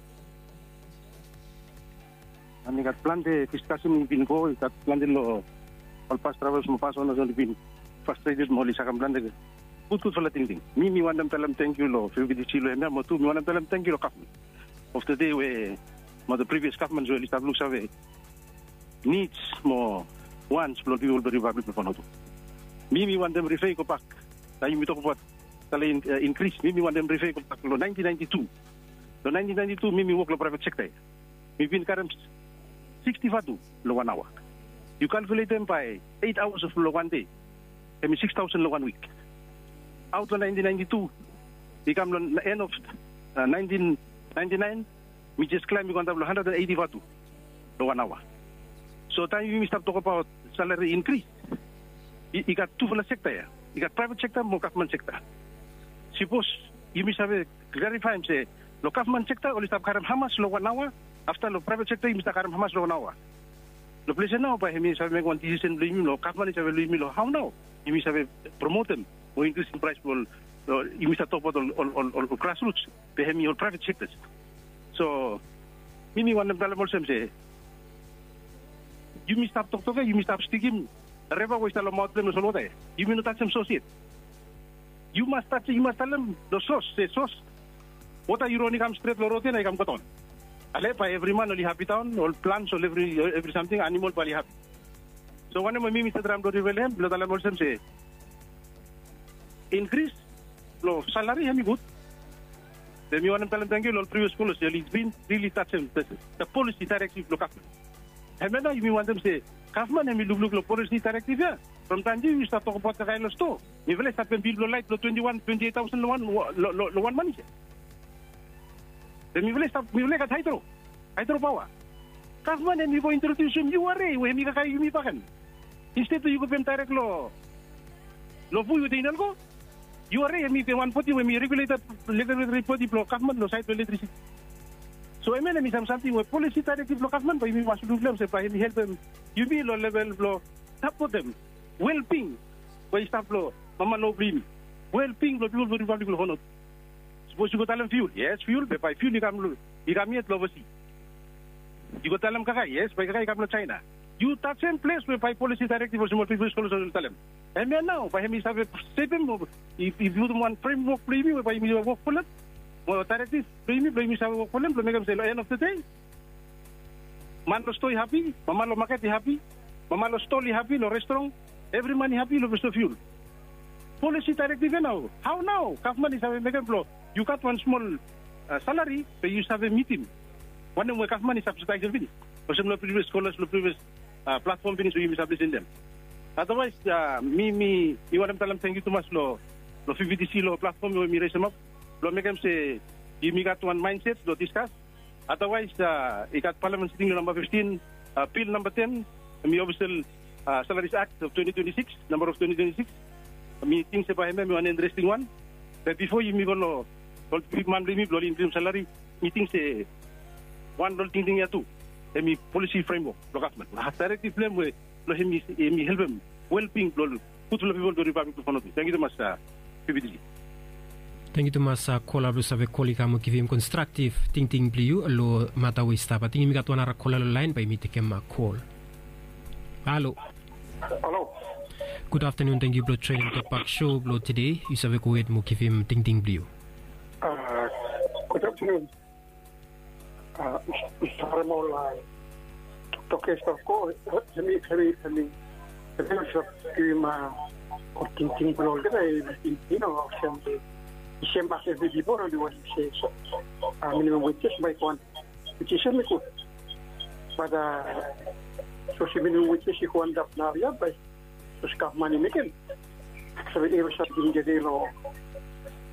And i gat plante diskasen i bin go, i gat plante long ol bas draevas mo bas onas oli bin frastreted mo oli sakem plante gudgudfala tingting. Mi mi wantem talem tangkiu long V V D C long hemia, mo tu mi wantem talem tangkiu long gavman of the day we mo the previous gavman we oli stap luksave nids mo wants blong ol pipol blong Ripablik blong Vanuatu. Mi mi wantem rifea i gobak, taem yumi tokbaot salari inkris, mi mi wantem rifea i gobak long naentin naenti tu. Long naentin naenti tu mi mi wok long praevet sekta ya. Mi bin karem siksti vatu long wan aoa. Yu kalkuletem bae eit aoas long wan dei, hemi sikis taosen long wan wik. Aot long naentin naenti tu i kam long en of naentin naenti naen, mi jes klaem i go antap long handred and eiti vatu long wan aoa. So taem yumi stap tokbaot salari inkris, i gat tufala sekta ya. I gat praevet sekta mo gavman sekta. Sipos yumi save klarifaem se long gavman sekta oli stap karem hamas long wan aoa, afta long praevet sekta yumi stap karem hamas long wan aoa. Long ples ya nao bae hemi save mekem wan disisen blong yumi, long gavman i save long yumi long hao nao yumi save promotem mo inkrisim praes blong ol, yumi stap tokbaot ol grasruts, be hemi ol praevet sektas. So mi mi wantem talem olsem se yumi stap toktok ya, yumi stap stikim reva we i stap long maot blong hem long solwota ya. Yumi no tajem sos yet. Yu mas tajem, yu mas talem long sos se sos, wota yu ron i kam stret long rod ya na i kam godaon. Ale bae evri man oli hapi daon, ol plants, ol evri evri samting, animol bae oli hapi. So wanem we mi mi stap traem blong rifea long hem blong talem olsem se inkris long salari hemi gud. Be mi wantem talem tangkiu long ol privias kolas ya oli bin rili tajem the policy directive blong gavman. Hemia nao yumi wantem se gavman hemi lukluk long policy directive ya. From taem yumi stap tokbaot the kaen long stoa, mifala i stap pem bil blong laet blong twenti wan twenti et taosen long wan long wan manis ya. Be mifala i stap mifala i gat haedro haedro paoa. Gavman hemi go introdiusim ura we hemi kakae yumi bakegen. Insted blong yu go pem daerek long long fu yu tein ol go ura hemi wan bodi we hemi reguleted regulatory bodi blong gavman long saed blong elektrisiti. So hemia hemi sam samting we polisi daerektiv blong gavman bae yumi mas luk long hem se bae hemi helpem yumi long level blong sapotem welbing we i stap long mama long blong yumi, welbing blong pipol blong ripablik blong honotu. Sapos yu go talem fiul, yes fiul be bae fiul i kam long i kam yet long ovasi. Yu go talem kakae, yes bae kakae i kam long jaena. Yu tajem ples we bae polisi daerektiv olsem ol pipol i skolas oli talem. Hemia nao bae hemi save sevem o i putum wan fremwok blong yumi we bae yumi wok folem mo daerektiv blong yumi blong yumi save wok folem blong mekem se long en of the dei man long stoa i hapi, mama long maket i hapi, mama long stol i hapi, long restoran evri man i hapi long bes long fiul. Polisi daerektiv ya nao hao nao gavman i save mekem blong yu gat wan smol salari be yu save mitim wanem we gavman i sabsidaesem finis olsem long privias skolas long privias platfom finis we yumi save lisin long hem. Adawaes mi mi mi wantem talem tangkiu tumas long long vptc long platfom we mi resemap blong mekem se yumi gat wan maenset blong diskas. Adawaes i gat palamen siting long namba fiftin, bil namba ten, mi ofisel salaris akt of twenti twenti sikis, namba of twenti twenti sikis. Mi ting se bae hemia hemi wan interesting wan. Be bifo yumi go long ol bigman blong yumi blong oli inkrim salari, mi ting se wan long ol tingting ya tu hemi polisi fremwok blong gavman, daerektiv blong hem we blong hemi hemi helpem welbing blong ol gudfala pipol blong ripablik blong fonotu. Tangkiu tumas. Pipitili. Tangkiu tumas kola blong save kol i kam o givim konstraktiv tingting blong yu long mata we i stap. Ating yumi gat wan ara kola long laen bae yumi tekem kol. Halo. Halo. Gud aftanun, tangkiu blong joenem tokbak sho blong tede. Yu save gohed mo givim tingting blong yu. Gud aftanun. Mista Remol, toktok ya i stap go hemi hemi hemi hemi stap givim ol tingting blong olgeta. I no olsem i sem as evri pipol oli wantem se minimum wages bae i go antap, which is hemi gud. Bat sapos minimum wages i go antap naoia bae sapos gavman i mekem save evri samting i gede long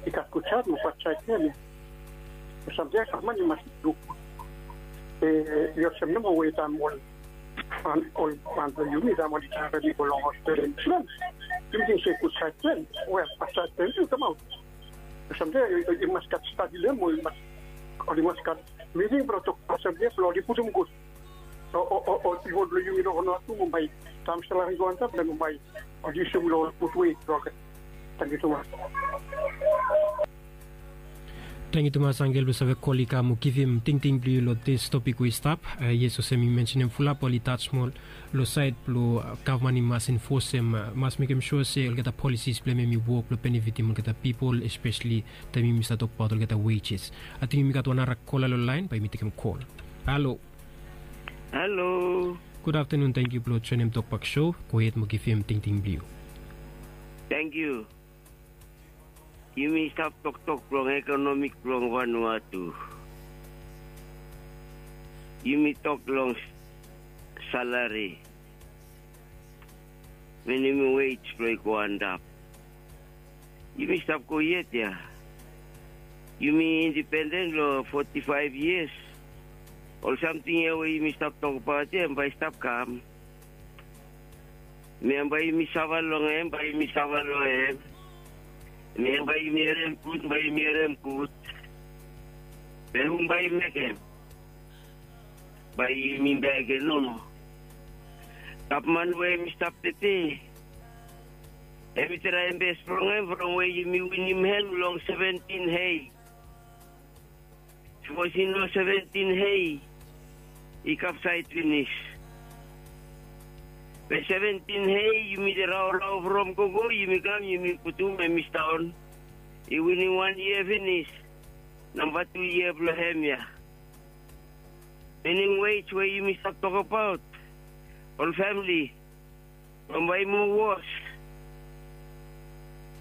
i gat gud saed mo bad saed blong hem ya. Samting ya gavman i mas luk. I olsem nomo we taem ol ol man blong yumi taem oli travel i go long hospital, yumi ting se gud saed blong hem we bad saed blong hem tu i kamaot. Samting ya i mas gat stadi long hem o i mas oli mas gat miting blong tokbaot samting ya blong oli putum gud. Ol pipol blong yumi long Vanuatu, Mumbai, taem salari i go antap na Mumbai oli yusum long ol gud wei blong olgeta. Tangkiu tumas. Tangkiu tumas angel blong save kol i kam o givim tingting blong yu long dis topik we i stap. Yes, olsem mi mensenem fulap oli tas smol long saed blong gavman i mas enfosem, mas mekem sua se olgeta polisis blong hem hemi wok blong benefitim olgeta pipol, espeseli taem yumi stap tokbaot olgeta wejes. Ating yumi gat wan ara kola long laen bae yumi tekem kol. Halo. Halo. Gud aftanun, tangkiu blong joenem tokbak sho. Gohed mo givim tingting blong yu. Tangkiu. Yumi stap toktok blong ekonomik blong Vanuatu. Yumi tok long salari, minimum wage blong i go antap. Yumi stap go yet ya. Yumi indipenden long foti faef yias. Ol samting ya we yumi stap tokbaot ya hem bae i stap kam. Mi hem bae yumi sava long hem, bae yumi sava long hem. Mi hem bae yumi harem gud, bae yumi harem gud. Be hum bae i mekem? Bae yumi begen nomo. Gavman we hemi stap tede, hemi traem bes blong hem from we yumi winim hem long seventin hei. Sapos i no seventin hei, i kapsaed finis. Be seventin hei yumi de raorao from gogo yumi kam yumi putum hem i staon. I winim wan yia finis. Namba tu yia blong hem ya. Minimum wage we yumi stap tokbaot, ol famili, bambae i moa wos.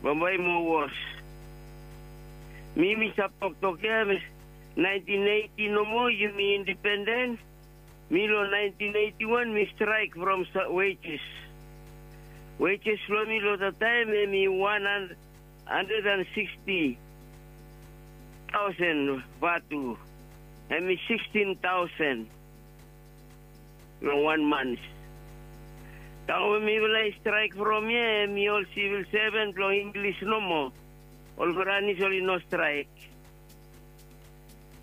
Bambae i moa wos. Mi mi save toktok ia, naentin eiti nomo yumi indipenden. Mi long naentin eiti wan mi straek from wejes. Wejes blong mi long dat taem hem i wan handred an siksti taosen vatu. Hem i sikstin taosen long wan mans. Taem we mifala i straek from ia hem i ol sivil seven blong Inglis nomo. Ol Franis oli no straek.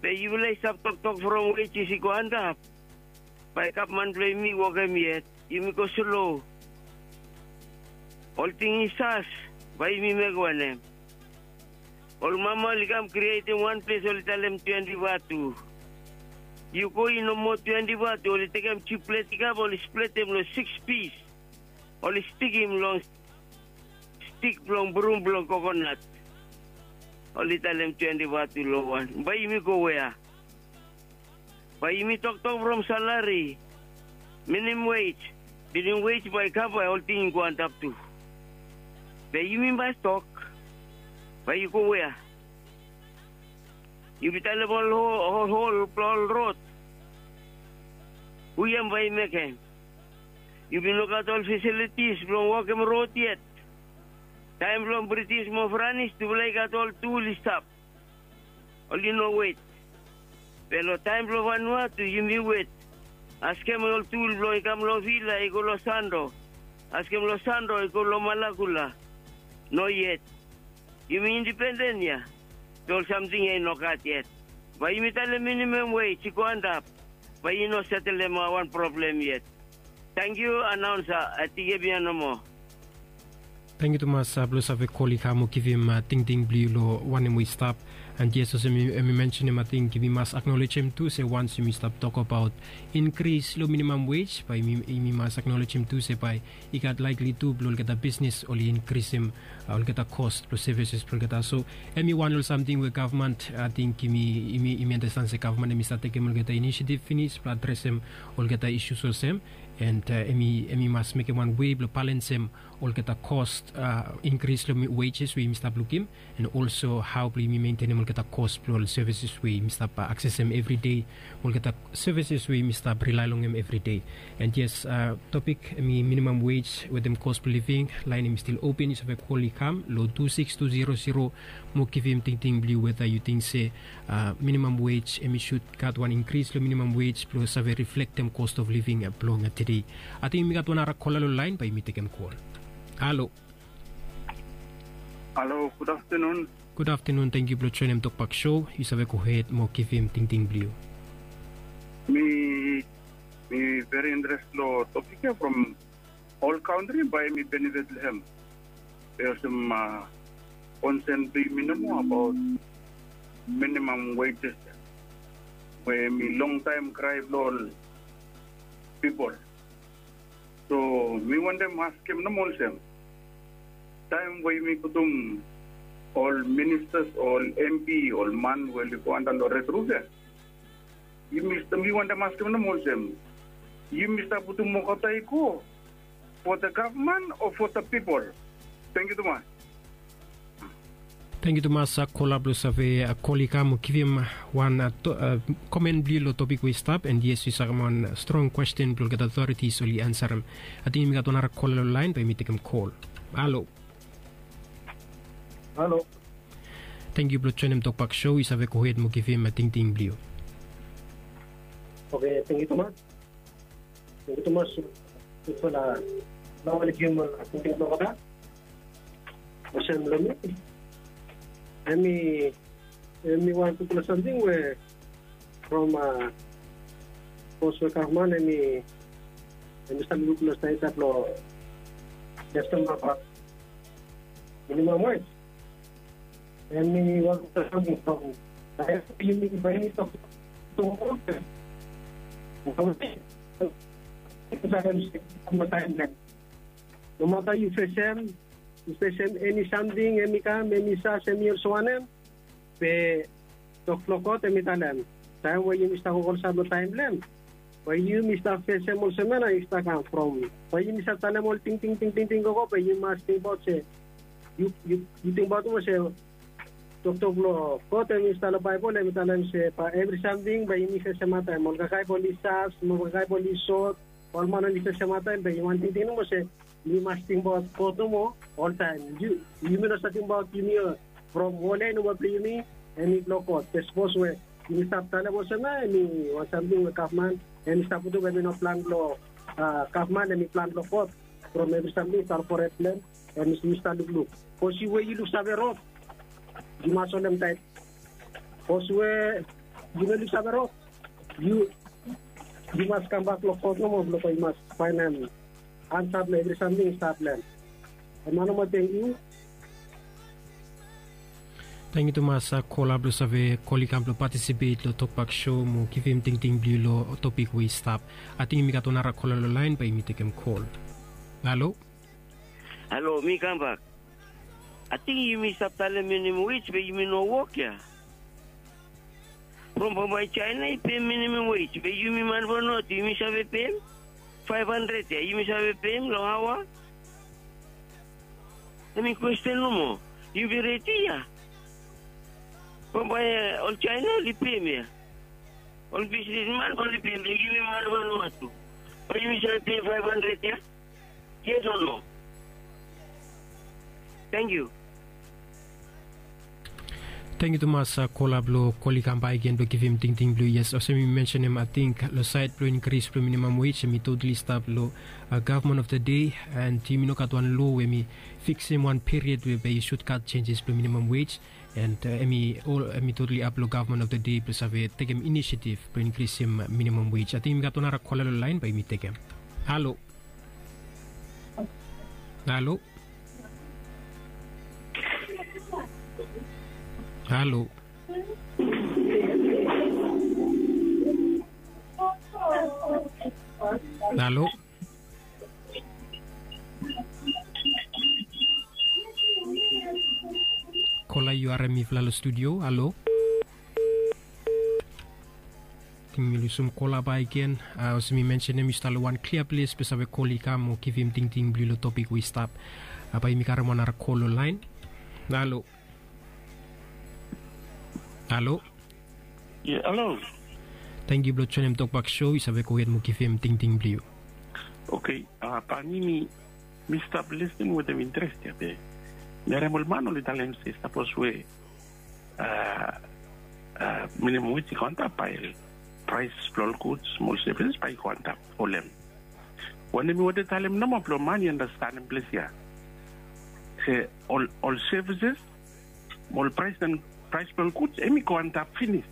Be yufala i stap toktok from wejes i go antap. Bae gavman blong yumi wokem yet. Yumi go slo. Ol ting i sas. Bae yumi mekem wanem? Ol mama oli kam krietem wan ples oli talem twenti vatu. Yu go i no moa twenti vatu, oli tekem jiplet i kam oli spletem long siks pis. Oli stikim long stik blong brum blong kokonat. Oli talem twenti vatu long wan. Bae yumi go wea? Bae yumi toktok from salari, minim wej. Minim wej bae i kam bae olting i go antap tu. Be yumi mas tok, bae yu go wea? Yu bin talem ol hol blong ol rod. Hu yam bae i mekem? Yu bin no gat ol fesilitis blong wokem rod yet. Taem blong Britis mo Franis tufala i gat ol tul i stap. Oli no wet. Be long taem blong Vanuatu yumi wet. Askem ol tul blong i kam long Vila i go long Sando. Askem long Sando i go long Malakula. No yet. Yumi indipenden ya. Be ol samting ya i no gat yet. Bae yumi talem minimam wej i go antap. Bae i no setelem wan problem yet. Tangkiu anaonsa. Ating hemia nomo. Tangkiu tumas blong save kol i kam mo givim tingting blong yu long wanem we i stap. And yes, olsem em i mensenim, ating yumi mas aknolejem tu se wans yumi stap tokabaot inkris long minimam wej, bae yumi mas aknolejem tu se bae i gat laekli tu blong olgeta bisnis oli inkrisim olgeta kos blong sevises blong olgeta. So em i wan long samting we gavman, ating yumi anastan se gavman em i save tekem olgeta inisiativ finis blong adresem olgeta isus olsem. And em i mas mekem wan wei blong balensem olgeta kos inkris long wejes we yumi stap lukim, and olso hao blong yumi mentenem olgeta kos blong ol sevises we yumi stap aksesem evri dei, olgeta sevises we yumi stap rilae long hem evri dei. And yes, topik em i minimam wej wetem kos blong living. Laen em i stil open, yu save kol i kam long tu siks tu zero zero mo givim tingting blong yu weta yu ting se minimam wej em i sud gat wan inkris long minimam wej blong save riflektem cost of living blong tede. Ating yumi gat wan nara kola long laen, bae yumi tekem kol. Halo. Halo, gud aftenun. Gud aftenun, tangkiu blong joenem Tokbak Show. Yu save gohed mo givim tingting blong yu. Mi mi veri interes long topik ya from ol kantri bae mi benefit long hem. Be olsem konsen blong yumi nomo abaot minimam wejes ya, we mi longtaem krae blong ol pipol. So mi wantem askem nomo olsem, taem we yumi putum ol ministas o ol MP, ol man we oli go antap long red ruf ya, yumi stap, mi wantem askem nomo olsem, yumi stap putum wokabet ya i go for the gavman o for the pipol? Tangkiu tumas. Tangkiu tumas kola blong save kol i kam givim wan komen blong yu long topik we i stap, and yes, yu sakem wan strong kwesten blong olgeta otoritis oli ansarem. Ating yumi gat wan nara kola long laen, bae yumi tekem kol. Halo. Halo. Tangkiu blong joenem Tokbak Show, yu save gohed mo givim tingting blong yu. Oke, tangkiu tumas. Tangkiu tumas. Tufala nao oli givim tingting blong olgeta. Olsem long mi, em i em i wan tufala samting we from pos we gavman em i em i stap luk long saed blong lestem abaot minimam wej. Em i wan tufala samting from yumi bae yumi tok. Nomata yu fesem yu fesem eni samting em i kam em i sas em i olsem wanem, be tok blong God em i talem, taem we yumi stap go olsem long taem blong hem, we yumi stap fesem olsem ya nao yu stap kam from, we yumi stap talem ol tingting tingting gogo, be yu mas tingbaot se yu yu tingbaot olsem Toktok blong God em i stap long Baebol, em i talem se bae evri samting bae yumi fesem ataem. Ol kakae blong oli sas mo kakae blong oli sot, ol man oli fesem ataem, bae yumi wantem tingting nomo se yumi mas tingbaot God nomo oltaem. Yumi no save tingbaot yumi from wol ya i no moa blong yumi, em i blong God. Be sapos we yumi stap talem olsem ya, em i wan samting we gavman em i stap putum, em i no plan blong gavman, em i plan blong God. From evri samting i stap foret blong em, em i stap lukluk. Sapos yu we yu luksave rod, yu mas holem taet. Sapos we yu no luksave rod, yu yu mas kambak long God nomo blong God i mas faenem ansa blong evri samting i stap long em. Em ya nomo, tengiu. Tengiu tumas kola blong save kol i kam blong patisipet long tokbak sho mo givim tingting blong yu long topik we i stap. Ating yumi gat wan nara kola long laen, bae yumi tekem kol. Halo. Halo, mi kambak. Ating yumi stap talem minimum wej be yumi no wok ya. From bambae Jaena i pem minimum wej be yumi man Vanuatu yumi save pem? Faef handred ya yumi save pem long aoa? Em i kwesten nomo. Yumi redi ya? Bambae ol Jaena oli pem ya. Ol bisnisman oli pem be yumi man Vanuatu, bae yumi save pem faef handred ya? Yes o no? Tengiu. Tengiu tumas kola blong kol i kam baek gen blong givim tingting blong yu. Yes, olsem yumi mensenem, ating long saed blong inkris blong minimam wej em i totali stap long gavman of the dei. And yumi no gat wan loa we em i fiksim wan period we bae i sud gat senjes blong minimam wej. And em i totali ap long gavman of the dei blong save tekem inisiativ blong inkrisim minimam wej. Ating yumi gat wan nara kola long laen, bae yumi tekem. Halo. Halo. Halo. Halo. Kola, yu harem mifala long studio? Halo. Ating mi lusum kola baek gen. Olsem mi mensenem, yu stap long wan klia ples blong save kol i kam mo givim tingting blong yu long topik we i stap. Bae yumi karem wan nara kol long laen. Halo. Halo. Ye, halo. Tengiu blong joenem tokbak sho. Yu save gohed mo givim tingting blong yu. Oke. Bae mi mi stap lisin wetem interes ya be mi harem ol man oli talem se sapos we minimum wage i go antap, bae praes blong ol guds mo ol sevises bae i go antap. Olem wanem mi wantem talem nomo blong man i anastenem ples ya se ol sevises mo ol praes blong ol guds em i go antap finis.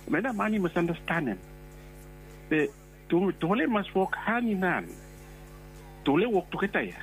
Em ya nao man i mas anastenem. Be tufala i mas wok han in han. Tufala i wok tugeta ya.